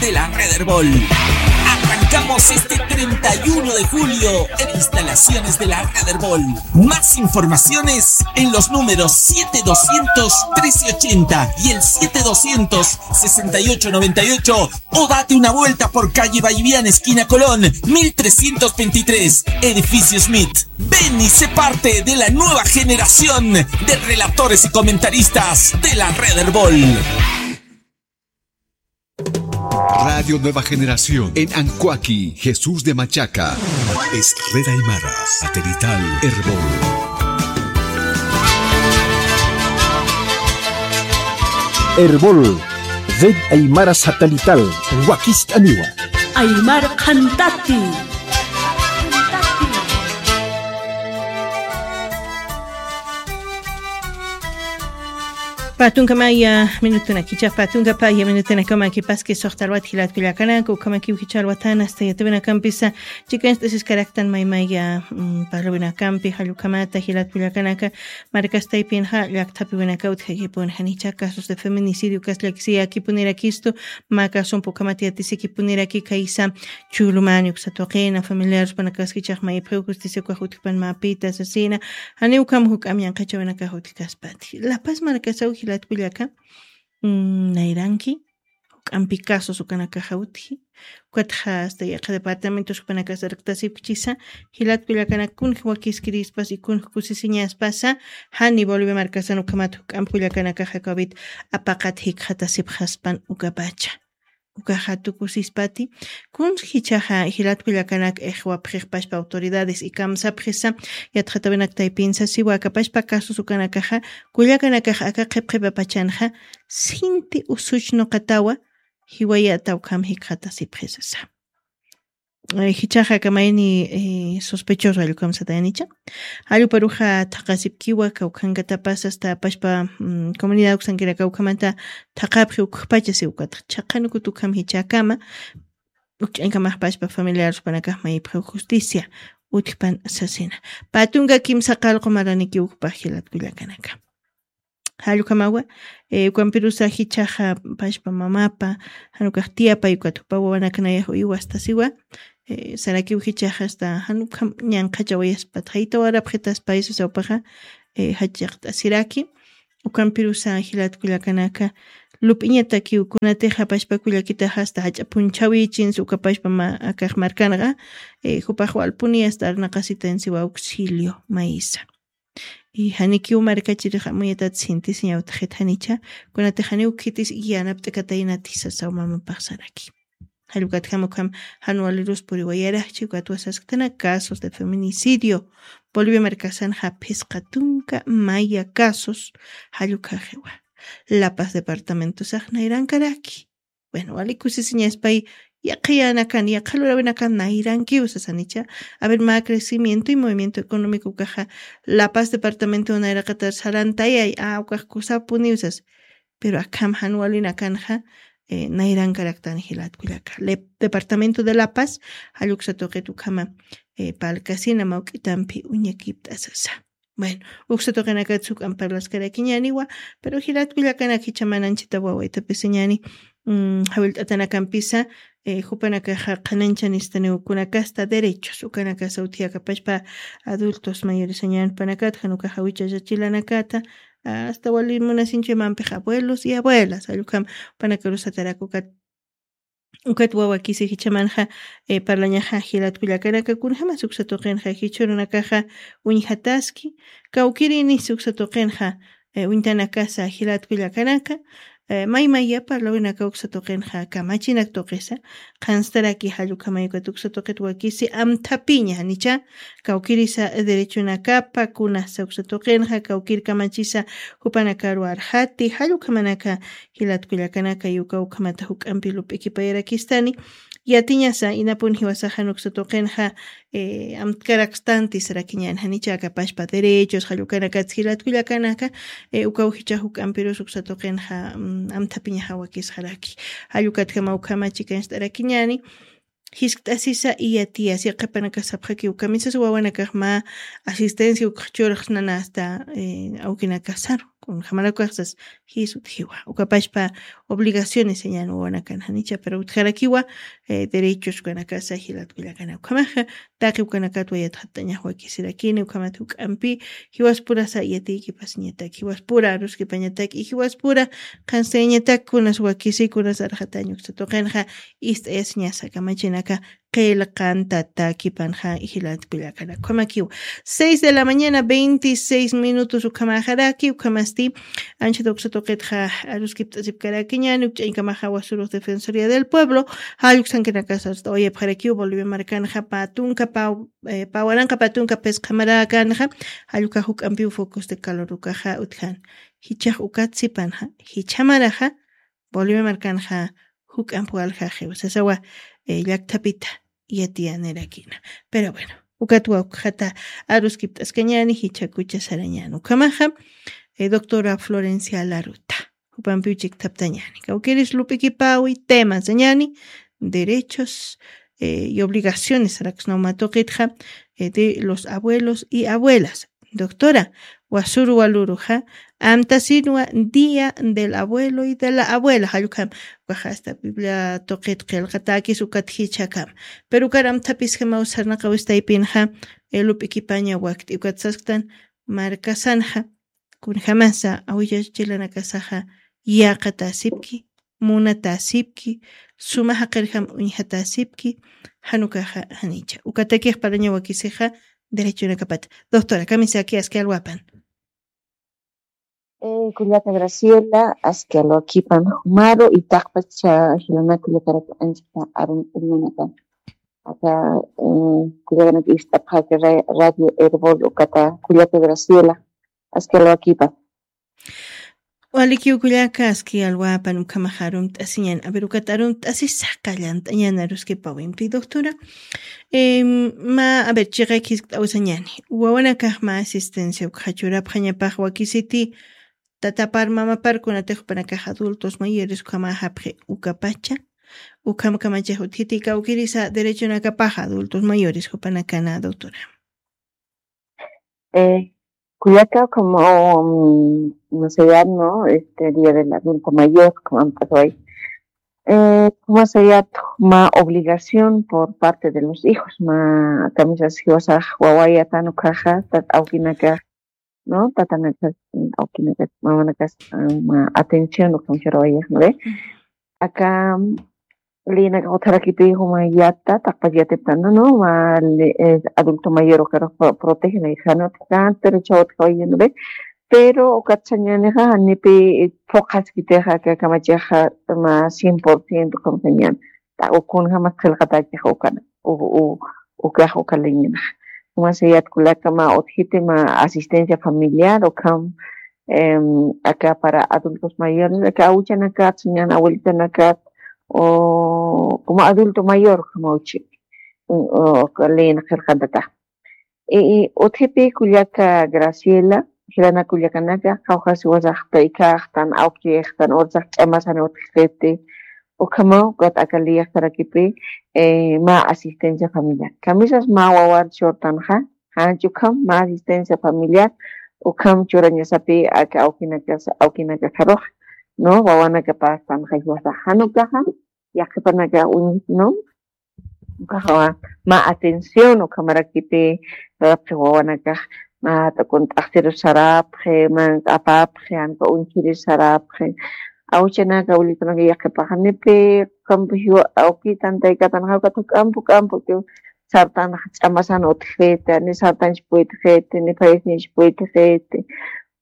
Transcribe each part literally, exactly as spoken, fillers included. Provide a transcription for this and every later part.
de la Red Herbol. Arrancamos este treinta y uno de julio en instalaciones de la Red Herbol. Más informaciones en los números siete doscientos trece ochenta y el siete doscientos sesenta y ocho noventa y ocho, o date una vuelta por calle Ballivián, esquina Colón, mil trescientos veintitrés, edificio Smith. Ven y sé parte de la nueva generación de relatores y comentaristas de la Red Herbol. Radio Nueva Generación en Ancoaqui, Jesús de Machaca. Es Red Aymara, satelital Erbol. Erbol, Red Aymara satelital, wakist'aniwa. Aymar Qhantati. Patunkamaya minutunakicha, patunkamaya minutunakamankipaski suxtarwat jilat kullakanaka, ukamakiw jichharwatan hasta yatawinakampisa, chikanst'asiskaraktan maymaya, mm, parlawinakampi, jallukhamata jilat kullakanaka, markastaypinxa llakthapiwinaka utjakipun janicha casos de feminicidio kasllakisiyakipunirakist'u, mä casompukhamat yatisikipuniraki kaysa, chulumani uksa tuqina, familiares panakaskichax maypxiw justicia ukax utjpan mapita sasina, janiw ukham juk'am ñanqhachawinakax utjkaspati. La Paz markasaw jilat kullaka, mm, nayranki, juk'ampi casos ukanakaxa utji, ukatxa hasta yaqha departamentos jupanakas arkt'asipkchisa, jilat kullakanak kunj wakiskirispas y kunj kusisiñaspasa, jani Bolivia markasan ukhamat juk'amp kullakanakaxa covid apaqat jikxatasipxaspan ukapacha. Ukaxa tukusispati, kuns jichhaxa jilat kullakanak ixwapxixpaspa autoridades y kamsapxisa, yatxatawinak taypinsa siwa akapaspa casos ukanakaxa, kullakanakax aka qhipqhipapachanxa, sinti usuch nuqatawa, jiwayata ukham jikxatasipxisasa. Eh, jichhaxa kamayni, eh, sospechoso jallukhamsatayanicha. Jalluparuxa thaqasipkiwa, kawkhankatapasa hasta apaspa, mm, comunidad uksankiraka ukhamata thaqapxi ukxpacha siwkata. Chhaqanukut ukham jichhakama, ukch'ankamaxpaspa familiares panakax maypxiw justicia, utjpan sasina. Patunka kimsa qallqu maraniki ukpax jilat kullakanaka. Jallukhamawa, eh, ukampirusa jichhaxa pashpa mamapa, janukax tiyapay ukat jupa wawanakanayax uywastasiwa, eh, sarakiw jichhaxa hasta janukham ñanqhachawayaspat jaytawarapxitaspaysa sawpaxa, eh, jachaqt'asiraki, ukampirusa jilat kullakanaka, lup'iñatakiw kunatixa pashpa kullakitaxa hasta jach'a punchhawichinsa ukapashpa ma-, akax markanxa, eh, jupax walpuni hasta arnaqasitansiwa auxilio maysa. Y janikiw markachirix amuyatat sintisiñawtxit janicha, kunatix janiw khitis yanapt'akataynati sasaw mamapax saraki. Jallukatjam ukham jan walirus puriwayaraxchi, ukatwa sasktanaka casos de feminicidio. Bolivia markasanxa phisqa tunka maya casos jallukhaxiwa. La Paz departamentosax nayrankaraki. Bueno, wali kusisiñaspay, yaqhiyanakan, yaqha lurawinakan nayrankiw sasanicha. A ver, mä crecimiento y movimiento económico ukaxa La Paz departamento nayraqatar sarantayay, a, ukax kusapuniw sas. Pero akham jan walinakanxa, eh, nayrankaraktan jilat kullaka. Le-, departamento de La Paz, jalluksa tuqit ukhama, eh, palkasina mawk'itampi uñakipt'asasa. Bueno, uksa tuqinakat suk'an parlaskarakiñäniwa, pero jilat kullakanak jichha mananchita wawaytapisiñäni, mm, jawillt'atanakampisa, eh, jupanakaxa qhanañchanistaniw kunakasta derechos, ukanakasa utjiyakapashpa adultos mayorisañän jupanakat, jan ukaxa wichachachilanakata, hasta wali munasinchuymampix abuelos y abuelas, jallukam jupanakarusataraki ukat Ukat wawakisi jichhamanxa, eh, parlañaxa jilat kullakanaka, kunjamas uksa tuqinxa jichhürunakaxa uñjataski, kawkïrinis uksa tuqinxa, eh, uñtanakasa jilat kullakanaka, eh, maymaya parlawinaka uksa tuqinxa kamachinak tuqisa, qhanstaraki jallukhamay ukat uksa tuqit wakisi amthapiña, janicha, kawkïrisa derechonakapa kunasa uksa tuqinxa, kawkïr kamachisa jupanakaru arxati, jallukhamanaka, jilat kullakanaka, uka ukhamata juk'ampi lup'ikipayarakistani, yatiñasa, inapun jiwasaxa uksa tuqinxa, eh, amtkarakstanti sarakiñäni, janicha akapashpa derechos, jallukanakat jilat kullakanaka, eh, ukaw jichha juk'ampirus uksa tuqinxa, mm, amthapiñaxa wakisxaraki. Jallukatjama ukhama chikancht'arakiñäni, jiskt'asisa y yatiyasa, yaqhipanaka sapxakiw kamisas wawanakax mä asistencia ukx churxsnana hasta, eh, awkinakasaru. Kunjamarakuxsas jis utjiwa ukapashpa obligaciones señan wawanakan janicha pero utjarakiwa. Derechos ukanakasa jilatkullakana ukhamaxa taqi ukanakatwa yatxatañaxwakisirakini ukhamat juk'ampi jiwaspurasa yatiykipasiñatak jiwaspura aruskipañatak y jiwaspura qhanstayañatak kunas wakisi kunas arxatañuksa tuqinxa ist'ayasiñasa kamachinaka qillqantata kipanxa jilatkullakana ukhamakiw. Seis de la mañana veintiseis minutos ukhamaxaraki ukhamasti anchata uksa tuqitxa aruskipt'asipkarakiñani ukch'añkamaxa wasurux defensoría del pueblo. Jalluksankinakasarsta uyapxarakiw bolivia markanxa patunka pawaranqa patunka pisqhamarakanxa jallukax juk'ampiw focos de calor ukaxa utjan. Jichax ukat sipanxa jichamaraxa bolivia markanxa juk'amp waljaxiw sasawa llakthapita yatiyanirakina. Pero bueno, ukatwa ukxata aruskipt'askañani jichakucha sarañani ukhamaxa doctora florencia laruta jupampiw chikthaptañani kawkiris lup'ikipawi tema sañani derechos y obligaciones raksnawma tuqitxa de los abuelos y abuelas. Doctora, wasuru waluruxa amtasinwa día del abuelo y de la abuela jallukam ukaxa asta biblia tuqit qillqatakis ukat jichhakam. Pero ukar amthapisjamaw sarnaqawistaypinxa lup'ikipaña wakt'i ukat sasktan markasanxa kunjamasa awillachilanakasaxa yaqatasipki munatasipki suma jaqirjam uñjatasipki. Janukaxa janicha ukatakix parañawakisixa derechonakapata. Doctora kamisaki aski alwapan. Kullaka graciela aski alwakipan jumaru itaqpacha jilanaka llakarak anchita arun uñunakan aka kullakanaka ist'apxaka radio herbol ukata kullaka graciela aski alwakipan. Walikiw kullaka aski alwapan ukhamaxa arumt'asiñan aver ukat arumt'asisa qallant'añan aruskipawimpi doctora. Ma aver chiqay khiskt'awisañani wawanakax ma asistencia ukxa churapxañapax wakisiti tatapar mamapar kunatix jupanakax adultos mayores ukhamäxapxi ukapacha ukham kamachax utjiti kawkirisa derechonakapax adultos mayores jupanakana doctora. Kullaka como masayat no este día del adulto mayor como ampasway masayat ma obligación por parte de los hijos ma kamisas jiwasax wawayatan ukaxa tat awkinakax no tatanakas awkinakas mamanakas ma atención ukamcharawayaxnure. Aka lïnaka utjarakipï juma yatta taqpach yatiptana no ma adulto mayor ukarux protegenay janut kan pero chawat kawayinuri. Pero ukat sañanixa janipi phuqhaskitixa aka kamachixa ma cien por ciento kamsañan. Ukunjamas qhilqatakixa ukana ukax uka lïninaxa. Juma sayat kullaka ma utjiti ma asistencia familiar ukham aka para adultos mayores aka awchanakat sañan abuelitanakat como adulto mayor ukham awchi. Lïna qhirqantatax utjipi kullaka graciela jilana kullakanaka qawqhasi wasaxta ikhaxtan awkixtan ursax ch'amasani utjxiti. Ukhamaw ukat aka liyaqtarakipi ma asistencia familiar kamisas mä wawar churtanxa janch ukham mä asistencia familiar ukham churañasapi aka awkinakasa awkinakaxarux no wawanakapastanxa jiwasax jan ukaxa yaqhipanakax uñjiti no. Ukaxa mä atención ukhamarakiti sarapxi wawanakax mä t'ukunt'axtirus sarapxi mank'apapxi janka uñjirus sarapxi. Awchanaka awilitanaka yaqhipaxanipi ukampi jiwa awkitan taykatanxa ukat juk'ampi uk'ampi ukiw sartanxa ch'amasan utjiti ni sartanch puytjiti ni phayasniñch puytjiti.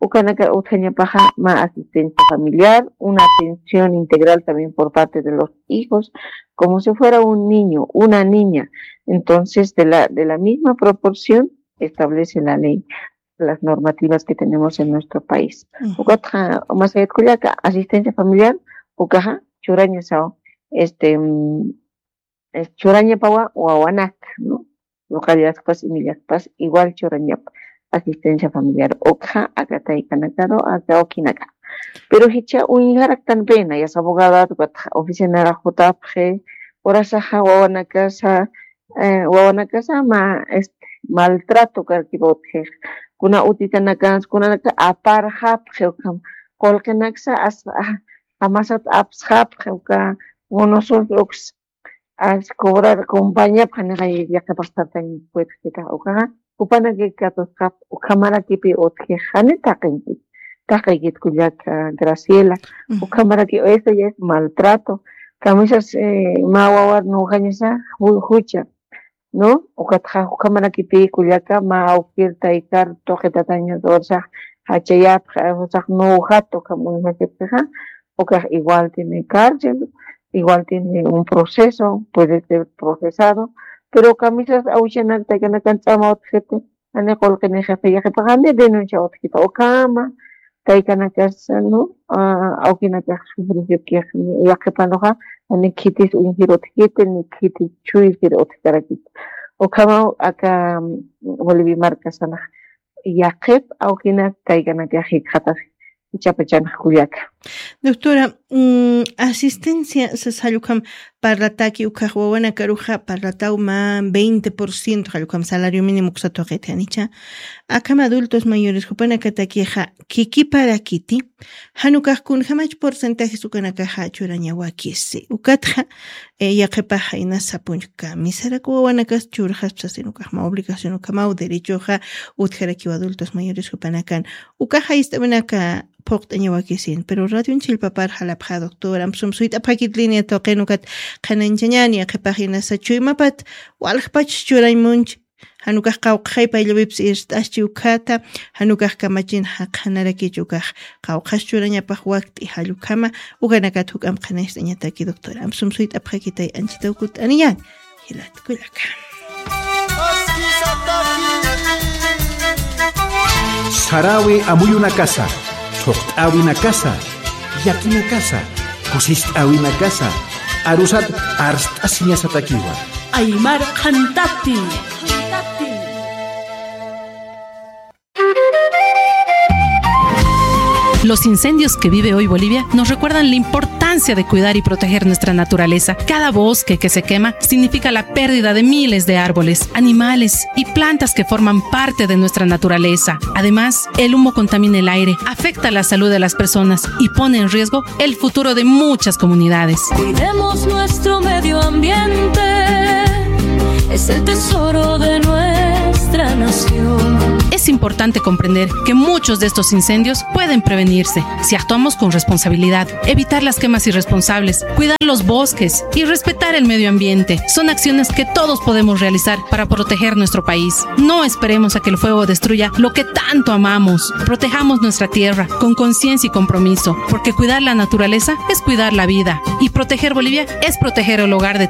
Ukanaka utjañapaxa mä asistencia familiar una atención integral también por parte de los hijos como si fuera un niño una niña. Entonces de la de la misma proporción establece la ley las normativas que tenemos en nuestro país. Ukatxa masayat kullaka asistencia familiar ukaxa churañasaw este churañapawa wawanak no localidadpas imillakpas igual churañap asistencia familiar ukxa aka taykanakaru aka awkinaka. Pero jichha uñjaraktan pena yas abogadat ukatxa oficinarax jutapxi urasaxa wawanakasa wawanakasa ma este maltrato karkipa utjix. Kuna utitanakansa, kunanaka aparxapxi ukham. Qullqinaksa as-, ah, amasat apsxapxi uka, unusus uks as cobrar compañía, janixa yaqhipax sartañ puedkita ukaxa, jupanaki katusqap, ukhamarakipi utjix, jani taqinki, taqikit kullaka Graciela, ukhamaraki, eso ya es maltrato, kamisas, eh, mä wawar nujañasa, ju-, jucha, ¿no? Ukatxa, ukhamarakipi kullaka, mä awkir taykar, tuqitataña, dorsax, jachayapxa, usax, nujat, ukham, uñjachapxixa, ukax igual tiene cárcel, igual tiene un proceso, puede ser procesado, pero kamisas awchanak taykanakan ch'ama utjiti, jani qullqinixi, yaqhipax jani denuncia utjita, ukhama, taykanakas, ¿no? Ah, awkinakax sufrisipkix, yaqhipanuxa, jani khitis uñjir utjiti, ni khitis chuysir utjkarakit. Ukhama aka, mm, Bolivia markasanax, yaqhip awkinak taykanakax jikxatax, ichapachanx kullaka. Doctora, mm, asistencia sas jall ukham parlataki, ukhax wawanakaruxa parlataw mä veinte por ciento jall ukham salario mínimo uksa tuqit janicha. Akham adultos mayores jupanakatakixa khikiparakiti, jan ukax kunjamach porcentajes ukanakaxa churañawakisi. Ukatxa, eh, yaqhipax jayna sapunchka, kamisarak wawanakas churxaspa sasin ukax mä obligación ukhamaw derechoxa utjarakiw adultos mayores jupanakan. Ukax jist'awinaka phuqt'añawakisin, pero radion chillpapar jalapxa, doctora, amsum suyt'apxakit línea tuqin ukat qhanañchañani, yaqhipax inasa chuymapat waljpach churañ munch, jan ukax qawqxay payllawipis irt'aschi ukhata, jan ukax kamachin jaqjanarakich ukax qawqhas churañapax wakt'i jall ukhama, ukanakat juk'amp qhanañcht'añataki, doctora. Amsum suyt'apxakitay, anchitaw kutt'aniñäni. Jilat kullaka. Sarawi amuyunakasa, thuqt'äwinakasa, llakinakasa, kusist'äwinakasa, arusat arst'asiñasatakiwa. Aymar qhantati. Los incendios que vive hoy Bolivia nos recuerdan la importancia de cuidar y proteger nuestra naturaleza. Cada bosque que se quema significa la pérdida de miles de árboles, animales y plantas que forman parte de nuestra naturaleza. Además, el humo contamina el aire, afecta la salud de las personas y pone en riesgo el futuro de muchas comunidades. Cuidemos nuestro medio ambiente, es el tesoro de nuestra nación. Es importante comprender que muchos de estos incendios pueden prevenirse si actuamos con responsabilidad. Evitar las quemas irresponsables, cuidar los bosques y respetar el medio ambiente son acciones que todos podemos realizar para proteger nuestro país. No esperemos a que el fuego destruya lo que tanto amamos. Protejamos nuestra tierra con conciencia y compromiso, porque cuidar la naturaleza es cuidar la vida y proteger Bolivia es proteger el hogar de